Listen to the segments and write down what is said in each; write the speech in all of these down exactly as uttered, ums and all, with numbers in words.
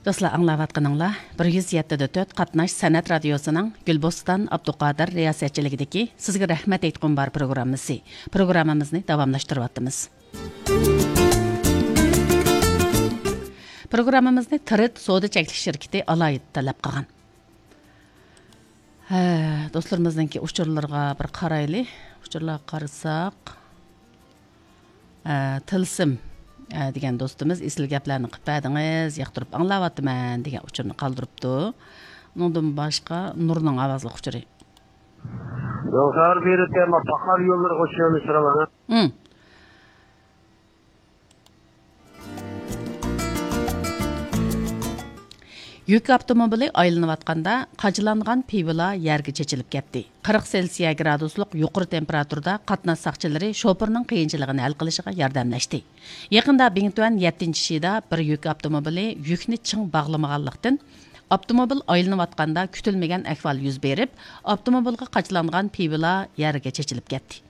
دوستلار، ئاڭلاۋاتقىنىڭلار بىر يۈز يەتتە دە تۆت قاتناش سەنئەت رادىيوسىنىڭ گۈلبوستان ئابدۇقادىر رىياسەتچىلىكىدىكى سىزگە رەھمەت ئېيتقۇم بار پروگراممىسى. پروگراممىمىزنى داۋاملاشتۇرۇۋاتىمىز. پروگراممىمىزنى تىرىت سودا چەكلىك شىركىتى ئالاھىدە تەلەپ قىلغان. ھە، دوستلىرىمىزنىڭكى ئۇچۇرلىرىغا بىر قارايلى. ئۇچۇرلارغا قارىساق، ھە، تىلسىم، ھە، دېگەن دوستىمىز، ئېسىل گەپلەرنى قىلىپ بەردىڭىز، ياقتۇرۇپ ئاڭلاۋاتىمەن، دېگەن ئۇچۇرنى قالدۇرۇپتۇ. ئۇنىڭدىن باشقا نۇرنىڭ ئاۋازلىق ئۇچۇرى. يوقار بېرىپ، ما پاخار يوللىرىغا چۈشۈرۈش رەۋانە. ھىم. يۈك ئاپتوموبىلى ئايلىنىۋاتقاندا، قاچىلانغان پىۋىلا يەرگە چېچىلىپ كەتتى. قىرىق سېلسىيە گرادۇسلۇق يۇقىرى تېمپېراتۇرىدا قاتناش ساقچىلىرى شوپۇرنىڭ قىيىنچىلىقىنى ھەل قىلىشىغا ياردەملەشتى. يېقىندا بىڭتۈەن يەتتىنچى شىدا بىر يۈك ئاپتوموبىلى يۈكنى چىڭ باغلىمىغانلىقتىن، ئاپتوموبىل ئايلىنىۋاتقاندا كۈتۈلمىگەن ئەھۋال يۈز بېرىپ، ئاپتوموبىلغا قاچىلانغان پىۋىلا يەرگە چېچىلىپ كەتتى.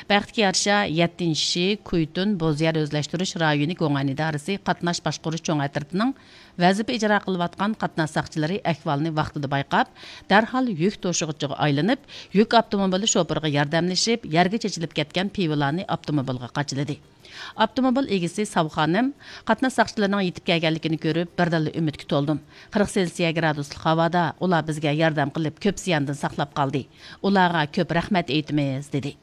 بەختكە يارىشا، يەتتىنچى شى كۇيتۇن بوزيەر ئۆزلەشتۈرۈش رايونى گوڭئەن ئىدارىسى قاتناش باشقۇرۇش چوڭ ئەترىتىنىڭ ۋەزىپە ئىجرا قىلىۋاتقان قاتناش ساقچىلىرى ئەھۋالنى ۋاقتىدا بايقاپ، دەرھال يۈك توشۇغۇچىغا ئايلىنىپ، يۈك ئاپتوموبىلى شوپۇرىغا ياردەملىشىپ، يەرگە چېچىلىپ كەتكەن پىۋىلانى ئاپتوموبىلغا قاچىلىدى. ئاپتوموبىل ئىگىسى ساۋ خانىم قاتناش ساقچىلىرىنىڭ يېتىپ كەلگەنلىكىنى كۆرۈپ، بىردىنلا ئۈمىدكە تولدۇم. قىرىق سېلسىيە گرادۇسلۇق ھاۋادا ئۇلار بىزگە ياردەم قىلىپ، كۆپ زىياندىن ساقلاپ قالدى. ئۇلارغا كۆپ رەھمەت ئېيتىمىز، دېدى.